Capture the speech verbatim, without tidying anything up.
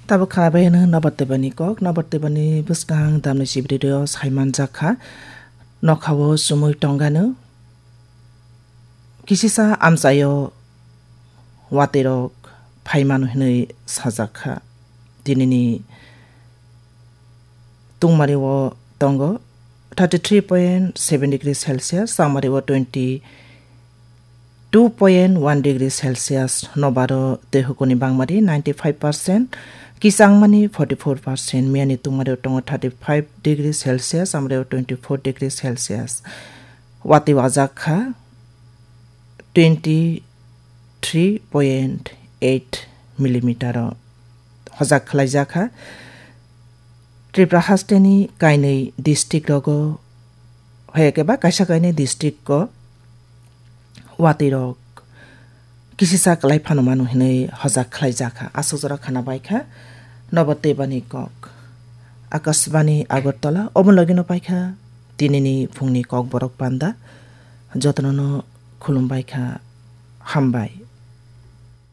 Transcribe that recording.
Tabuk khwnabai hwno Nobar Tebani kok, Nobar Tebani bwskang damni sibiri o saimanjak kha, nokhao chumui tongano. Kisisa amchaio watwirok phaimano hinwi sajak kha. Tinini tungmari o tongo thirty three point seven degree Celsius, changmari o twenty two point one degree Celsius, Nobaro tei hukuni bangmari ninety five percent, kisangmani forty four percent, miyani tungmari o tongo thirty five degree Celsius, amri o twenty four degree Celsius. Watwi wajak kha twenty three point eight millimeter o hojak khlaijak kha. Tripura hasteni kainwi district rogo, hoyake ba kaisa kainwi district o watwi rok kisisa kwlai phano mano hinwi hojak khlaijak kha. Aswk jora khana bai kha Nobar Tebani kok. Akashbani Agartala, omo logino pai kha tinini phungni kok borok panda. Jotono no khulum bai kha, hambai.